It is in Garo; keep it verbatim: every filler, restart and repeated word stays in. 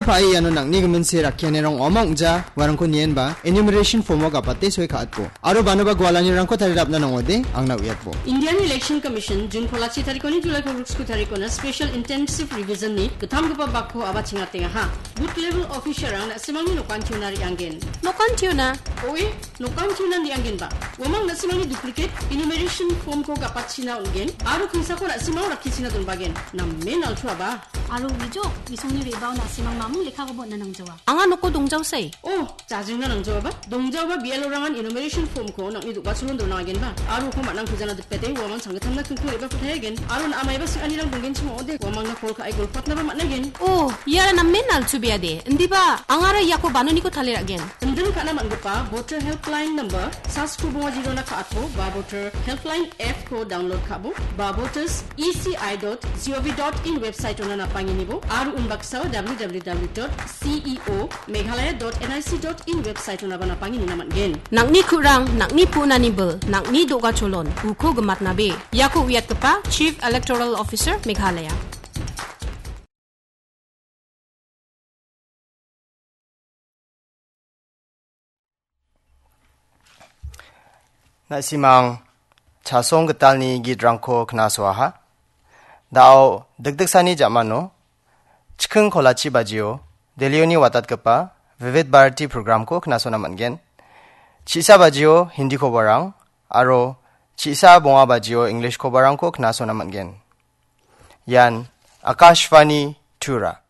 Pae iano nang·ni giminse rakkianirang ong·a ong·ja, uarangko nienba enumeration form-o gapate soi ka·atbo. Aro banoba gualanirangko tarirapna nang·ode, angna uiatbo. Indian Election Commission June kolachi tarikoni July kolgriksku tarikona Special Intensive Revision-ni gittamgipa bakko aba chingatengaha. Booth level officer-rang na·simangni nokantiona re·anggen. Nokantiona? Oe, nokantiona re·anggenba. Uamang na·simangni duplicate enumeration form-ko gapatchina on·gen, aro kingsako na·simang rakkichina donbagen. Namen altuaba. Aro uijo, isongni re·bao na·simang mamung lekkakoba on·na nangjawa. Anga noko dongjaosai. Oh, jajingna nangjaoaba. Dongjaoaba B L O-rangan enumeration form-ko nang·ni do·gacholon donangagenba. Aro uko man·ang kujana dipete uamang sanggittamna kingko re·baa patayagen. Aro na·a maiba sing·anirang donggenchim ong·ode, uamangna call ka·e golpatnaba man·agen. Oh, iara namen alchubeade. Indiba, angara iako banoniko taliragen. Indin ka·na man·gipa Voter Helpline number, sasku bonga jirona ka·atbo, ba Voter Helpline app-ko download ka·bo, ba voters E C I dot G O V dot in website-ona napanginibo, aro unbaksao W W W dot C E O Meghalaya dot N I C dot in website-onaba napanginina man·gen. Nang·ni ku·rang, nang·ni pu·nani bil, nang·ni do·gacholon, uko gimatnabe. Iako uiatgipa Chief Electoral Officer Meghalaya. Na·simang chasong gitalni gitrangko knasoaha. Da·o dikdiksani jamano chiking kolachi bajio Delhioni watatgipa Vivid Bharati program-ko knasona man·gen. Chi·sa bajio Hindi kobarang aro chi·sa bonga bajio English kobarangko knasona man·gen. Ian Akashvani Tura.